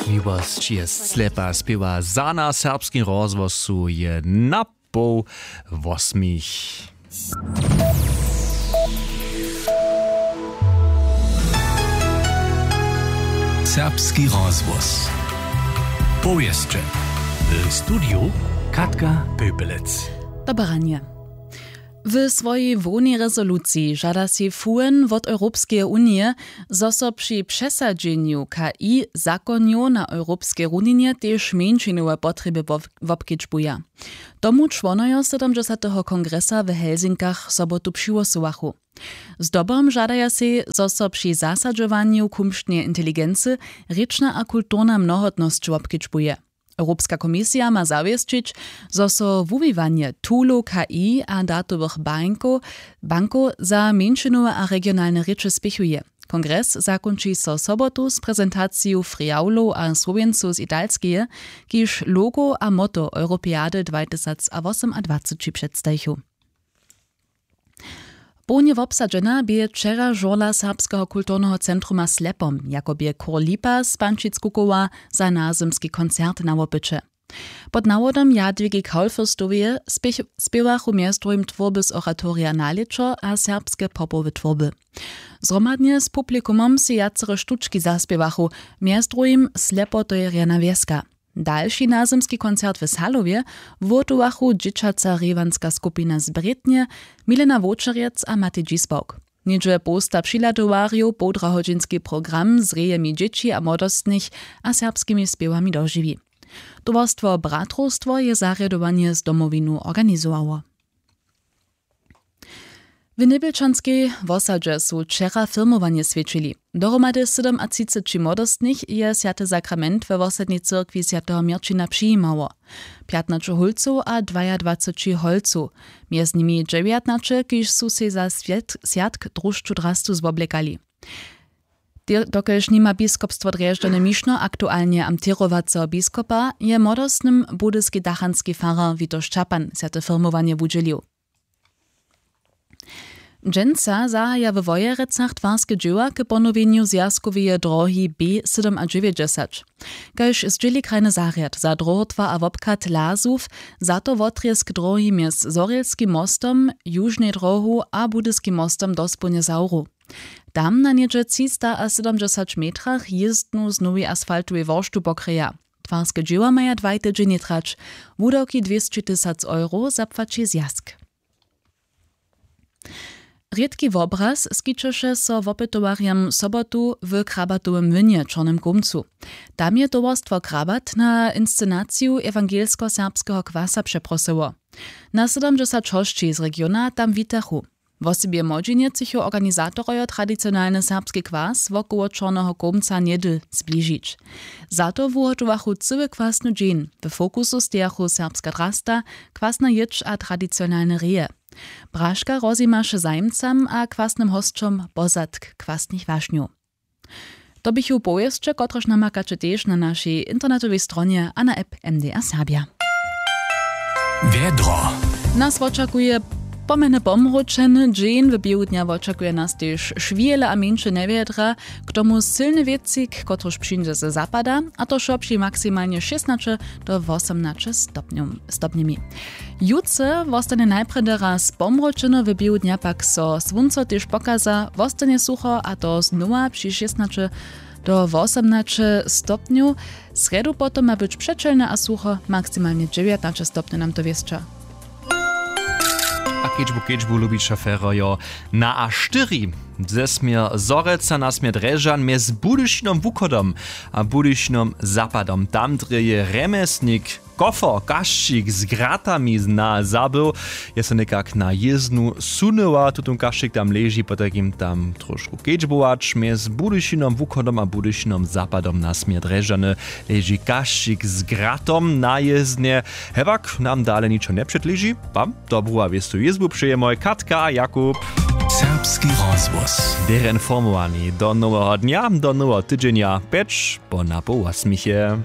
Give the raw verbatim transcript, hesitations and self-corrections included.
Miłosć je slepa spěwa za na serbskim rozhłosu je na poł wosmich. Serbski rozhłos. Powěsće. W studiju Katka Pöpelec. Dobre ranje. W swojej hłownej rezoluciji žada sej F U N wot Europskeje unije, zo so při přesadźenju K I zakonjow na europskej runinje tež mjeńšinowe potrjeby wop-, wobkedźbuja. Tomu čłonojo sydomdźesateho kongresa w Helsinkach sobotu přihłosowachu. Zdobom žadaja sej, zo so při zasadźowanju kumšneje inteligency rěčna a kulturna mnohotnosć wobkedźbuje. Europska komisija ma zawěsćić, zo so wuwiwanje toolow K I a datowych bankow, bankow za mjeńšinowe a regionalne rěče spěchuje. Kongres zakónči so sobotu z prezentaciju friawlow a słowjencow z Italskeje, kiž logo a motto Europeady dwatysacwosomadwaceći předstajichu. Połnje wobsadźena bě wčera žurla Serbskeho kulturneho centruma Slepom, jako bě chór Lipa z Pančic kukowa za nazymski koncert na wopyće. Pod nawodom Jadwigi Kaulfürstoweje spěch-, spěwachu mjez druhim twórby z oratorija Nalěćo a serbske popowe twórby. Zhromadnje z publikumom sej wjacere štučki zaspěwachu, mjez druhim Slepotojerjana wjeska. Dalši nazymski koncert w Salowje wuhotowachu dźěćaca rěwanska skupina z Brětnje, Milena Wowčerjec a Matej Dźisbawk. Něhdźe połsta přihladowarjow połdrahodźinski program z rejemi dźěći a młodostnych a serbskimi spěwami dožiwi. Towarstwo Bratrowstwo je zarjadowanje z Domowinu organizowało. W Njebjelčanskej wosadźe su wčera firmowanje swjećili. Dohromady sydomatřiceći młodostnych je swjaty sakrament we wosadnej cyrkwi swjateho Měrćina přijimało. Pjatnaće hólcow a dwajadwaceći holcow, mjez nimi dźewjatnaće, kiž su sej za swjat-, swjatk Drušću drastu zwoblekali. Te-, dokelž nima biskopstwo Drježdźany Mišno aktualnje amtěrowaceho biskopa, je młodostnym budyski dachanski farar Witoš Čapan swjate firmowanje wudźělił. Dźensa zahaja we Wojerecach twarske dźěła k ponowjenju zwjazkoweje drohi B sydomadźewjećdźesać. Kaž zdźěli krajny zarjad za dróhotwar a wobchad Lazow, za to wotrězk drohi mjez Zhorjelskim mostom, Južnej drohu a Budyskim mostom dospołnje zawru. Tam na něhdźe třistasydomdźesać metrach jězdnu z nowej asfaltowej worštu pokryja. Twarske dźěła maja dwaj tydźenje trać. Wudawki dwěsći tysac euro zapłaći zwjazk. Rědki wobraz skićeše so wopytowarjam sobotu w Krabatowym młynje w Čornym Kómcu. Tam je towarstwo Krabat na inscenaciju ewangelsko-serbskeho kwasa přeprosyło. Na sydomdźesać hosći z regiona tam witachu. Wosebje młodźinje třěchu organizatorojo tradicionalny serbski kwas wokoło Čorneho Kómca něhdy zbližić. Za to wuhotowachu cyły kwasny dźeń. W fokusu stejachu serbska drasta, kwasna jědź a tradicionalne reje. Braška rozjimaše zajimcam a kwasnym hosćom pozadk kwasnych wašnjow. To běchu powěsće, kotrež namakaće tež na našej internetowej stronje a na app M D R Serbja. Wjedro. Nas wočakuje pomjeny pomručeny dźeń, w běhu dnja wočakuje nas tež šwihele a mjeńše njewjedra, k tomu sylny wětřik, kotryž přińdźe ze zapada, a to wšo při maksimalnje šěsnaće do wosomnaće stopnjow-, stopnjemi. Jutře wostanje najprjedy raz pomročeno, w běhu dnja pak so słónco tež pokaza, wostanje sucho, a to znowa při šěsnaće do wosomnaće stopnjow. Srjedu potom ma być přećelne a sucho, maksimalnje dźewjatnaće stopnjow nam to wěsća. A kedźbu kedźbu lubić šoferojo na A štyri. Ze směr Zhorjelca na směr Drježdźan mjez Budyšinom wuchodom a Budyšinom zapadom, tam drje je rjemjesnik Kofer Kašćik z gratami na zabył. Je so někak na jěznu sunyła, tutón Kašćik tam leži, potajkim tam trošku kedźbować. Mjez Budyšinom wuchodom a Budyšinom zapadom na směr Drježdźany leži Kašćik z gratom na jěznje. Hewak nam dale ničo njepředleži. Wam dobru a wěstu jězbu přejemoj Katka a Jakub. Serbski rozhłos. Běrje informowani do noweho dnja, do noweho tydźenja, pjeć po napoł wosmich je.